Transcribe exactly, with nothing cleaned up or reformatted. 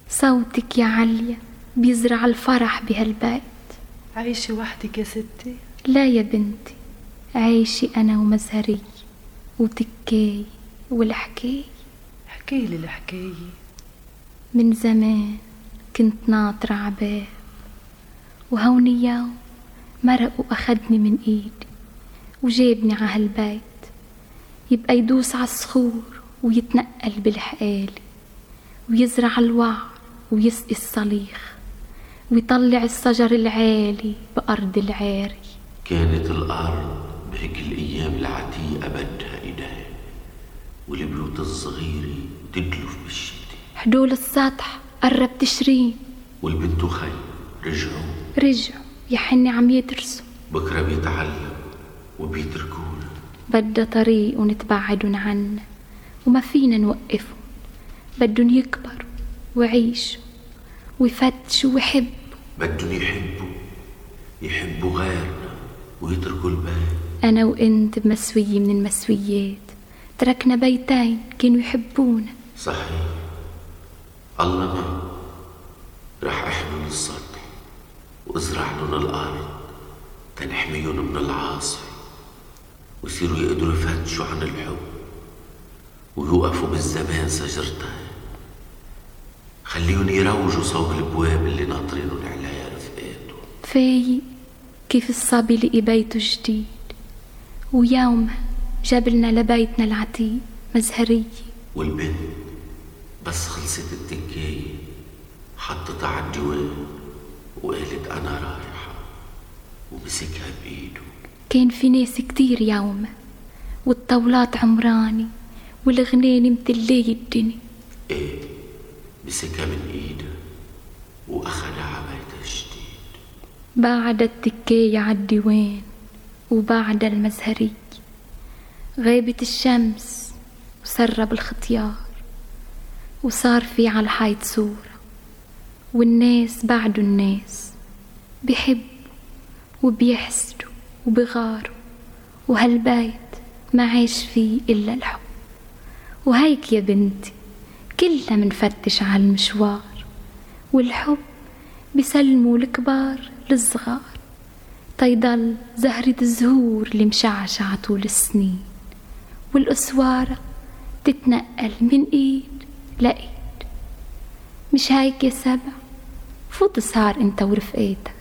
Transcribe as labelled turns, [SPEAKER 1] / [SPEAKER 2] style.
[SPEAKER 1] صوتك يا عليا بيزرع الفرح بهالبيت.
[SPEAKER 2] عايشة وحدك يا ستي؟
[SPEAKER 1] لا يا بنتي، عايشة أنا ومزهرية وتكاي والحكاية.
[SPEAKER 2] حكيلي الحكاية.
[SPEAKER 1] من زمان كنت ناطرة عباب، وهون يوم مرق وأخدني من إيدي وجابني عهالبيت، يبقى يدوس عالصخور ويتنقل بالحقالي، ويزرع الوعر ويسقي الصليخ، ويطلع الشجر العالي بأرض العاري.
[SPEAKER 3] كانت الأرض بهيك الأيام العتيقة بدها إيدين، والبيوت الصغيرة تدلف بالشتي.
[SPEAKER 1] حدول السطح قرب تشرين،
[SPEAKER 3] والبنت وخي رجعوا
[SPEAKER 1] رجعوا يا حني عم يدرسوا.
[SPEAKER 3] بكرة بيتعلم وبيتركونا.
[SPEAKER 1] بدها طريق ونتبعدن عنا وما فينا نوقفهم، بدن يكبروا ويعيشوا ويفتشوا ويحبوا.
[SPEAKER 3] بدن يحبوا يحبوا غيرنا ويتركوا البيت.
[SPEAKER 1] أنا وإنت بمسوية من المسويات تركنا بيتين كانوا يحبونا.
[SPEAKER 3] صحيح، الله ما رح احمل السطح وازرع لهم الأرض تنحميهم من العاصفة، ويصيروا يقدروا يفتشوا عن الحب ويوقفوا بالزمان سجرتين. خليهم يروجوا صوب البواب اللي ناطرينهم عليها رفقاتهم.
[SPEAKER 1] فايق كيف الصبي لقي بيته جديد، ويومها جابلنا لبيتنا العتيق مزهرية.
[SPEAKER 3] والبنت بس خلصت التكاية حطتها عالديوان وقالت أنا رايحة، ومسكها بإيده.
[SPEAKER 1] كان في ناس كتير يومها، والطاولات عمراني والغنين متلية الدنيا.
[SPEAKER 3] ايه، مسكها من ايده واخدها عبيتها الجديد.
[SPEAKER 1] بعد التكاية عالديوان وبعد المزهرية غابت الشمس وسرب الختيار، وصار في عالحيط صورة، والناس بعدوا الناس بيحبوا وبيحسدوا وبغاروا، وهالبيت ما عاش فيه إلا الحب. وهيك يا بنتي كلنا منفتش عالمشوار، والحب بيسلموا الكبار للصغار، تيضل زهرة الزهور اللي مشعشعة طول السنين، والأسوارة تتنقل من إيد لإيد. مش هيك يا سبع؟ فوت سهر انت ورفقاتك.